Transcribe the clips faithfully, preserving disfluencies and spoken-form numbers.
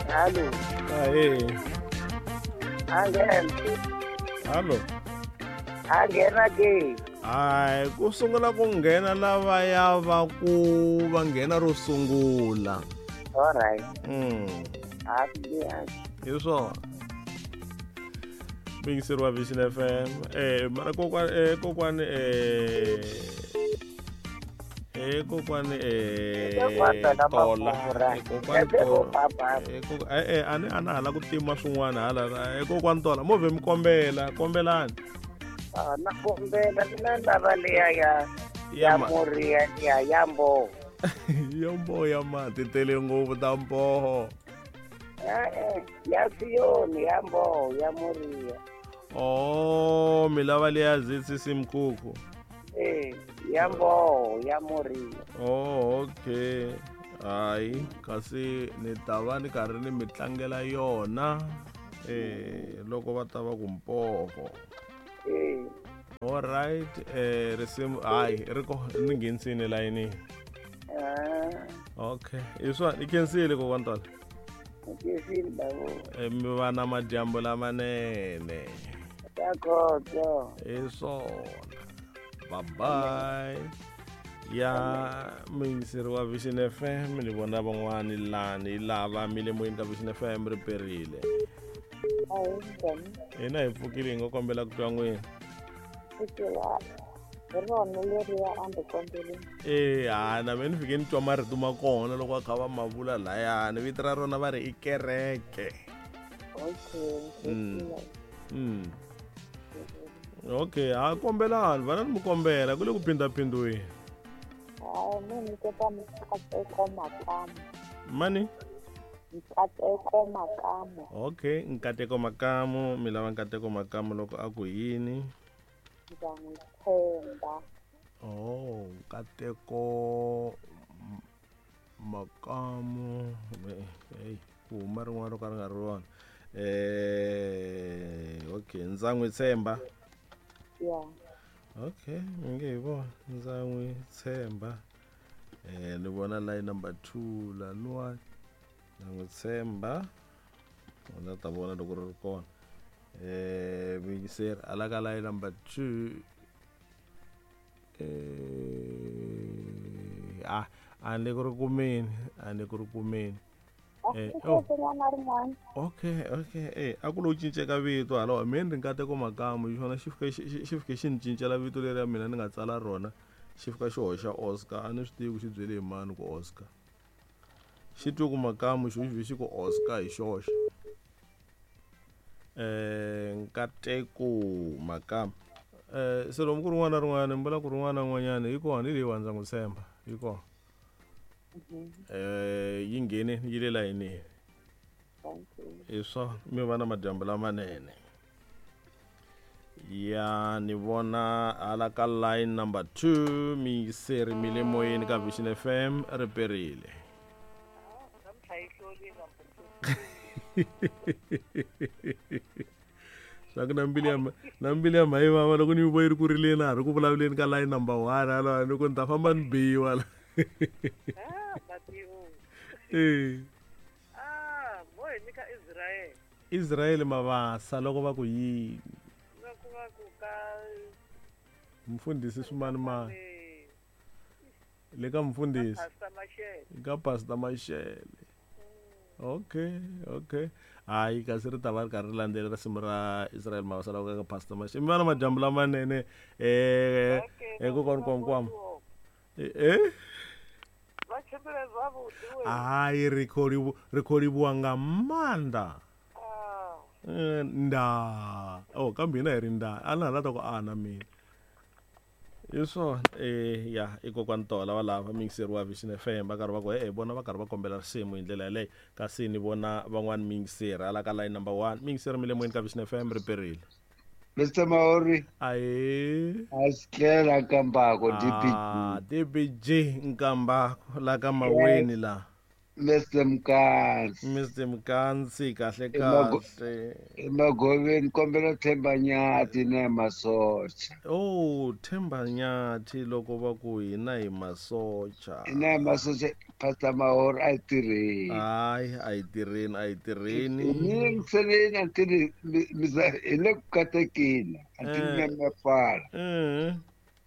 Hallo. Ahee. Anghena. Hallo. Anghena ke. Hayi, ku sungula ku nghena lavaya va ku va nghena ro sungula. All right. Mm. Hi swona. Muyingiseri wa Vision F M. Eh mara kokwani eh kokwani eh eh kokwani eh tola kokwani tola eh eh ani ana hala ku tima swin'wana hala eh kokwani tola movhe mi kombela kombelani. Ah na kombela mina lava leya ya ya Moria ya ya mboho. Ya mboho ya mati tele ngopfu ta mboho. Eh ya Siyoni ya mboho ya Moria. Oh mi lava leya Z C C Mkhukhu. Eh ya mboho ya Moria. Oh okay. Hayi kasi ni ta va ni karhi ni mi tlangela yona eh loko va ta va ku mpoho. Eh. All right eh risimu hayi ri ko ni nghenisini layinini. Ah. Okay iswa i khensile kokwani Tola. Khensile babo. Eh mi va na madyambu lamanene. Dakotso. Hi swona. Bye bye. Ya muyingiseri wa Vision F M ni vona van'wani lani lava mi le moyeni ka Vision F M ri perile. Hina hi pfukile hi nga kombela ku twa n'wina. Eh ha na mina ni fike ni twa marito ma kona loko va kha va ma vula layani vito ra rona va ri i kereke. Okay. Mm. Mm. Okay, ha kombelani vana ni mi kombela ku le ku phindaphindiweni. Hayi mi nyiketa Nkateko Makamu. Mani? Nkateko Makamu. Okay, Nkateko Makamu, mi lava Nkateko Makamu loko a ku yini? Ndza n'wi tshemba. Oh, Nkateko Makamu. Hey, ku huma rin'wana ro ka ri nga ri rona. Eh, okay, ndza n'wi tshemba. Yeah. Okay, mi nge hi vona ndza n'wi tshemba. Eh, ni vona line number two laniwa ndza n'wi tshemba. Ndza ta vona loko ri ri kona. Eh, muyingiseri ala ka line number two. Eh, ah, a ni ku ri kumeni, a ni ku ri kumeni. Eh, oh. Okay, okay. Eh, a ku lo cinceka vito hala mina ni Nkateko Makamu hi xona xi fike xi fike xi ni cincela vito leri ya mina ni nga tsala rona xi fika xi hoxa Oscar a ni swi tivi ku xi byele hi mani ku Oscar. Xi twe ku Makamu xo xi xi ku Oscar hi xoxe. Eh, Nkateko Makamu. Eh, se lomu ku rin'wana na rin'wana ni vula ku rin'wana na rin'wanyana yi kona hi leyiwani ndza n'wi tshemba yi kona. Eh yi nghene yi le layinini. Hi swona mi va na madyambu lamanene. Ya ni vona hala ka line number two miyingiseri mi le moyeni ka Vision F M ri perile. Swa ku na mbilu ya na mbilu ya mhayi vava loko ni yi vo yi ri ku rileni a ha ri ku vulavuleni ka line number one hala ni ku ni ta famba ni biwa la. Ah, Matimu. Eh. Ah, mo hi nyika Israel. Israel Mavasa loko va ku yini? Loko va ku ka Mfundhisi Swimanimani. Le ka mfundhisi. Pastor Mashele. Ka Pastor Mashele. Okay, okay. Hayi kasi ri ta va ri karhi ri landzela risimu ra Israel Mavasa loko ka Pastor Mashele. Mi va na madyambu lamanene eh eh kokwani kwamkwam. Eh? Hayi ri khou ri khou livhuwa nga maanḓa. Nda oh kambe hina hi ri nda a na hala ta ku ana mina. Hi swona eh ya i kokwani Tola va lava muyingiseri wa Vision F M va karhi va ku e vona va karhi va kombela risimu hi ndlela yaleyo kasi ni vona van'wani muyingiseri hala ka line number one muyingiseri mi le moyeni ka Vision F M ri perile. Mister Maori. Aye. Asikela Nkambako D B G. Ah, D B G Nkambako la ka Maweni la. Mister Mkansi. Mister Mkansi kahle kahle. Emagoveni kombela Themba Nyathi na masocha. Oh, Themba Nyathi loko va ku hina hi masocha. Hina hi masocha. Pastor Mahor a yi tirheni. Hayi, a yi tirheni, a yi tirheni. Mi yingiseleni a ti hi le ku katekeni a ti Eh. mi mi pfala. Eh.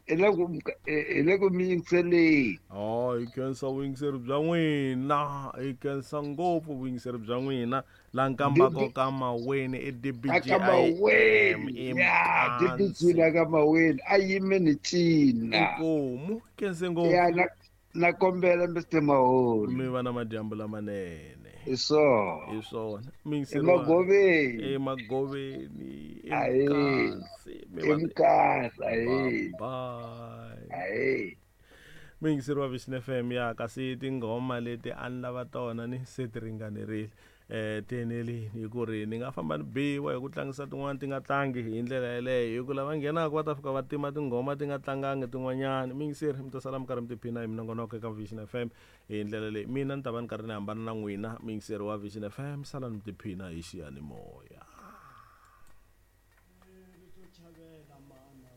Hi le ku hi le ku mi yingiseleni. Oh, hi khensa vuyingiseri bya n'wina, hi khensa ngopfu vuyingiseri bya n'wina la nkambako ka Maweni i A ka Maweni. Ya, D B G la ka Maweni a yime ni cina. Inkomu, khense ngopfu. Ya na na kombela Mister Mahor. Mi va na madyambu lamanene. Hi swona. Hi swona. Muyingiseri wa- Emagoveni. Emagoveni. Ahee. Emkasi. Mi va- Emkasi, ahee. Bye. Ahee. Muyingiseri wa Vision F M, ya kasi tinghoma leti a ni lava tona ni se ti ringanerile, eh ti enelini hi ku ri ni nga famba ni biwa hi ku tlangisa tin'wana ti nga tlangi hi ndlela yeleyo, hi ku lava nghenaka va ta fika va tima tinghoma ti nga tlangangi tin'wanyani. Muyingiseri, mi ta sala mi karhi mi tiphina hi minongonoko eka Vision F M hi ndlela leyi. Mina ni ta va ni karhi ni hambana na n'wina. Muyingiseri wa Vision F M, sala ni tiphina hi xiyanimoya. Chavela mana.